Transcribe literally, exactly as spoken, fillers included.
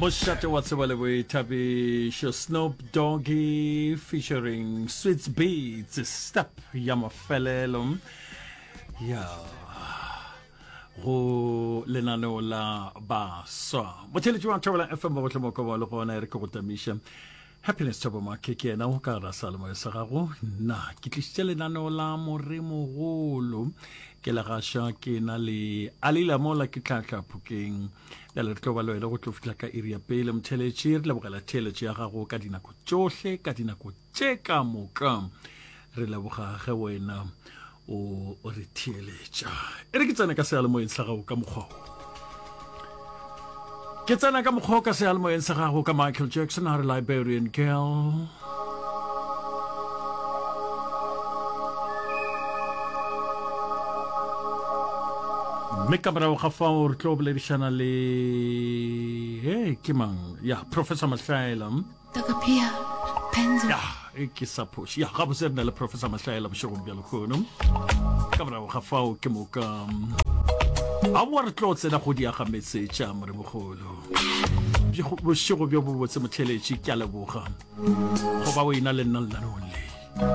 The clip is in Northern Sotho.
Mošate wa tseba le boithabišo Snoop Doggy featuring Swizz Beatz step ya mafelelo ya go lenaneo la baswa motheletši wa Thobela FM ba bohle moko ba le gona e re ke go tamiša Happiness Thabo Make ke yena o ka gara salemoya sa gago nna ke tlišitše lenaneo la moremogolo ke le gaša ke na le alila mola ke tlhatla phokeng bjale re tlo ba le wena go tlo fihla ka iri ya pele motheletši re lebogela theeletšo ya gago ka dinako tšohle ka dinako tše ka moka re leboga ge wena o re theeletša e re ke tsene ka seyalemoyeng sa gago ka mokgwa ke tsena ka mokgwa ka seyalemoyeng sa gago ka Michael Jackson a re Liberian Girl mme ka morago ga fao re tlo boledišana le he ke mang ya Professor Mahlaela ya e ke sa phoše ya gabotse re na le Professor Mahlaela bošegong bja lekgono ka morago ga fao ke moka aowa re tlo tsena go diaga metse tša moremogolo bošego bjo bobotse motheletši ke a leboga go ba o ena le nna lenaneong le.